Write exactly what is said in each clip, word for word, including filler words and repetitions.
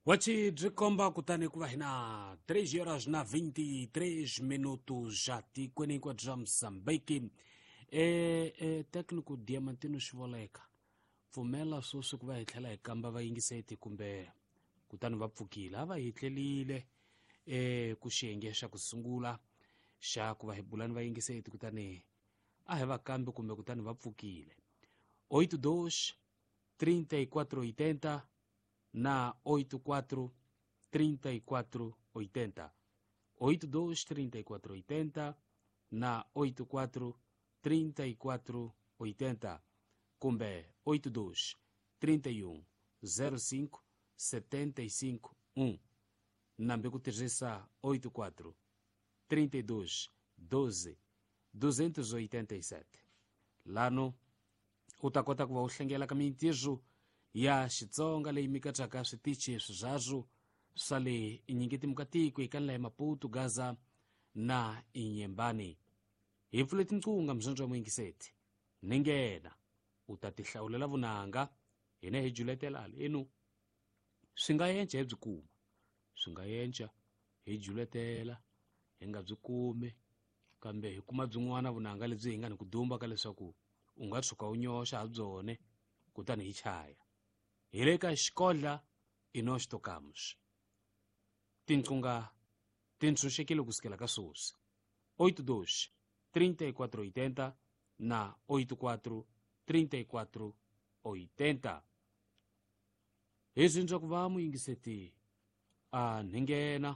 Wachi byi komba kutani ku va hi na três horas na vinte e três minutos já tikweni hinkwabyo bya Mozambique. E, e técnico Diamantino Xivoleka, pfumela sweswi ku va hi tlhela hi kamba vayingiseti kumbe kutani va pfukile a va hi tlelile e ku xiyenge xa ku sungula xa ku va hi bulani vayingiseti kutani a hi va kambi kumbe kutani va pfukile. Oito dois trinta e quatro oitenta na oito quatro trinta e quatro oitenta, oito dois trinta e quatro oitenta na oito quatro trinta e quatro oitenta kumbe oito dois trinta e um zero cinco setenta e cinco um, nambe ku tirhisa oito quatro trinta e dois doze duzentos oitenta e sete. Lano u ta kota ku va u hlengela ka mintirho ya Xitsonga leyi mikatsaka switichi swirharhu swa le Inyingeti-Mukatiko eka ndlela ya Maputo, Gaza na Inyembani. Hi pfule tinqunga mzonzo wa muyingiseti ni nghena u ta tihlawulela vunanga hina hi juletela halenu. Swi nga yenca hi byi kuma, swi nga yenca hi juletela hi nga byi kumi, kambe hi kuma byin'wana vunanga lebyi hi nga ni ku dumba ka leswaku u nga tshuka u nyoxa ha byone kutani hi chaya. Hi le ka xikodla i nós tocamos. Tinqunga ti ntshunxekile ku sukela ka sweswi. Oito dois trinta e quatro oitenta na oito quatro trinta e quatro oitenta. Hi zindza ku va muyingiseti a nghena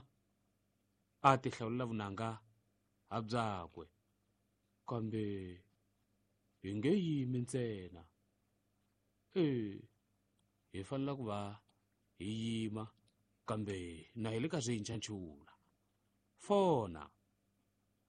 a tihlawulela vunanga ha byakwe, kambe hi nge yimi ntsena. E hi fanele ku va hi yima kambe na hi le ka swintshantshula. Fona.